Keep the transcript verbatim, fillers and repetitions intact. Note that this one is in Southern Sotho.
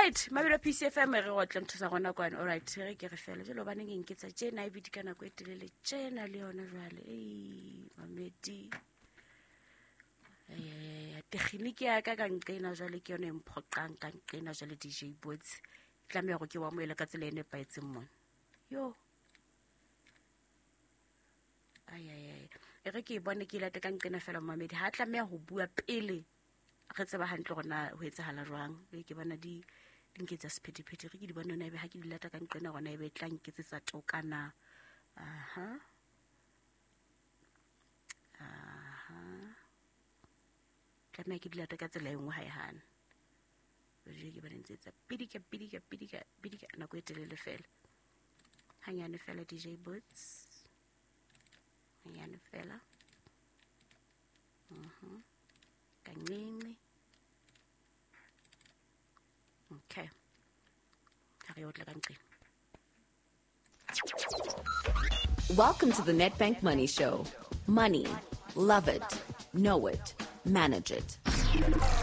Alright, mabelo P C F M re go tla ntho sa gona kwane. Alright, re ke re fela jalo baneng eng ke tsa tjena e bidi ka nako e telele tjena le yona jwale. Ei, mamedi. Eh, tekginiki ya ka ka nqena jwale ke yona e mphoqang ka nqena jwale D J Boots. Tlameha go ke wa moela ka tsela e nepahetseng mona. Yo. Ai ai ai. E re ke e bone ke ilate ka nqena fela mamedi. Ha tlameha ho bua pele re tseba hantle hore na ho etsahala jwang. E ke bona di di nketsa sephethephethe re ke di bone hona ebe ha ke di lata ka nqena hona ebe e tla nketsetsa toka na. Aha. Aha. Tlameha ke di lata ka tsela e nngwe ha e hane. Jwale ke bona ntse etsa pidika pidika pidika pidika nako e telele fela. Hanyane fela D J Boots. Hanyane fela. Mhm. Kancinci. Okay. Ha re otla ka nqena. Welcome to the Nedbank Money Show. Money. Love it. Know it. Manage it.